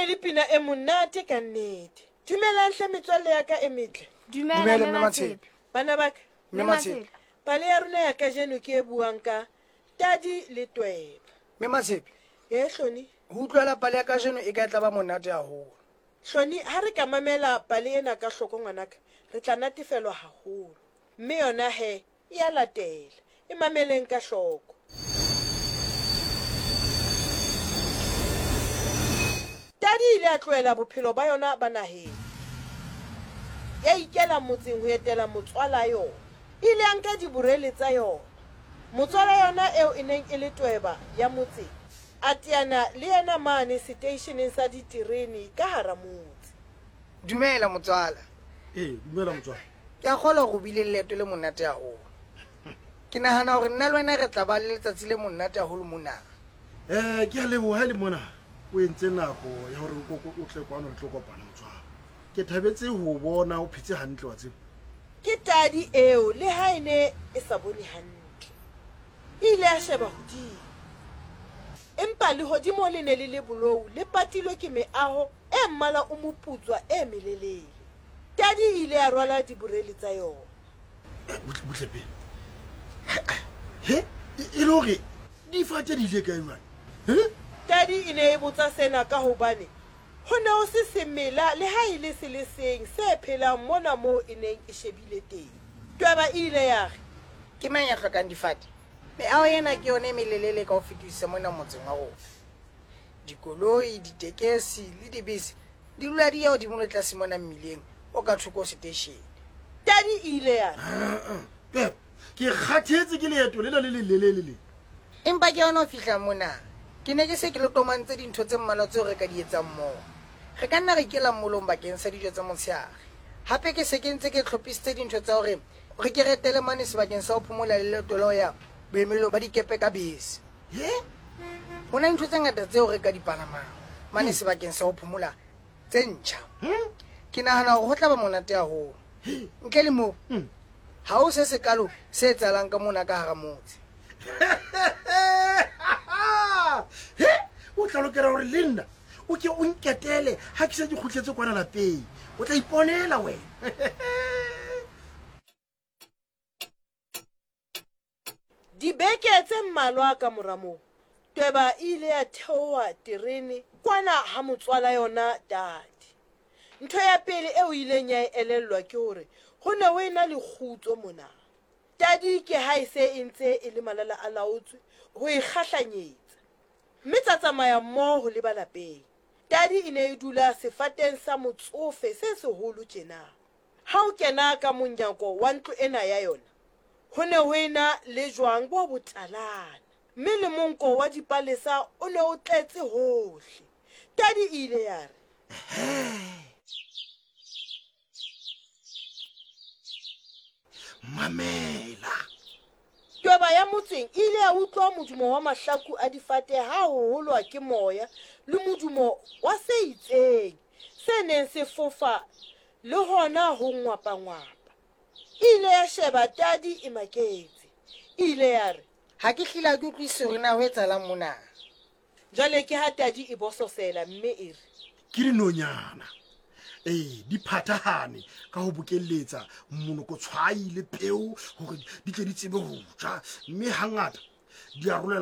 ne le pina e monate ka nnete. Dumelang hle metswalle ya ka e metle. Dumela Dumela, Mme Mme Matshepe. Matshepe. Bana ba ka, Mme Mme Matshepe. Matshepe. pale ya rona ya kajeno ke e buang ka Tadi le Tweba. Mme Matshepe, Ee Hloni, ho utlwela pale ya kajeno e ka e tla ba monate haholo. Hloni ha re ka mamela pale ena ka hloko ngwanaka, re tla natefelwa haholo. Mme yona he e a latela. E mameleng ka hloko. Tadi e ile ya tlohela bophelo ba yona ba naheng, ya ikela motseng ho etela motswala yona. E ile ya nka diborele tsa yona. Motswala yona eo e neng e le tweba ya motseng, a teana le yena mane seteisheneng sa diterene ka hara motse. Dumela motswala. Ee, dumela motswala. Ke a kgolwa hore o bile le leeto le monate haholo. Ke nahana hore nna le wena re tla ba le letsatsi le monate haholo mona. Um ke a leboha le mona o entse nako ya hore o tle kwano re tlo kopana motswala. Ke thabetse ho bona o phetse hantle wa tseba. Ke tadi eo le ha e ne e sa bone hantle. E ile ya sheba hodimo. Empa lehodimo le ne le le bolou le patilwe ke meaho e mmala o moputswa e melelele. Tadi e ile ya rwala diborele tsa yona. Butle butle pele. He, e le hore difate di ile kae jwale? He? Tadi e ne e botsa sena ka hobane ho ne ho se semela le ha e le se le seng se phelang mona moo e neng e shebile teng. Tweba e ile ya re. Ke mang ya hlokang difate? Meaho ena ke yona e melelele ka ho fetisisa mona motseng wa rona. Dikoloi, ditekesi le dibese di dula di ya hodimo le tlase mona mmileng o ka thoko ho seteishene. Tadi e ile ya re. Pep, ke kgathetse ke leeto lena le lelelele le. Empa ke yona ho fihla mona, ke ne ke se ke lotomantse dintho tse mmalwa tseo re ka di etsang mmoho. Re ka nna ra ikela mmolong bakeng sa dijo tsa motshehare. Hape ke se ke ntse ke hlophisitse dintho tsa hore re ke re etele mane sebakeng sa ho phomola le leeto la ho ya boemelong ba dikepe ka bese. He? Ho na le ntho tse ngata tseo re ka di palamang mane sebakeng sa ho phomola tse ntjha. Ke nahana hore ho tla ba monate haholo. Ntle le moo, ha ho se sekalo se etsahalang ka mona ka hara motse. He, o tla lokela hore le nna o ke o nketele ha ke se ke kgutletse kwana lapeng. O tla iponela wena. Dibeke tse mmalwa ka mora moo, Tweba e ile ya theoha terene kwana ha motswala yona Tadi. Ntho ya pele eo e ileng ya e elellwa ke hore ho ne ho ena le kgutso mona. Tadi ke ha e se e ntse e le malala a laotswe ho e kgahlanyetsa. Mme tsa tsamaya mmoho ho leba lapeng. Tadi e ne e dula sefateng sa motsofe se seholo tjena. Ha o kena ka monyako wa ntlo ena ya yona, ho ne ho ena le jwang bo botalana, mme le monko wa dipalesa o ne o tletse hohle. Tadi e ile ya re. Mamela. Tweba ya motseng e ile ya utlwa modumo wa mahlaku a difate ha ho holwa ke moya le modumo wa se itseng se neng se fofa le hona ho ngwapangwapa. E ile ya sheba Tadi e maketse. E ile ya re. Ha ke hlile ha ke utlwisise hore na ho etsahalang mona. Jwale ke ha Tadi e bososela mme e re. Ke dinonyana. Ee, di phathahane ka ho bokelletsa monokotshwai le peo hore di tle di tsebe ho ja, mme hangata di arolelana.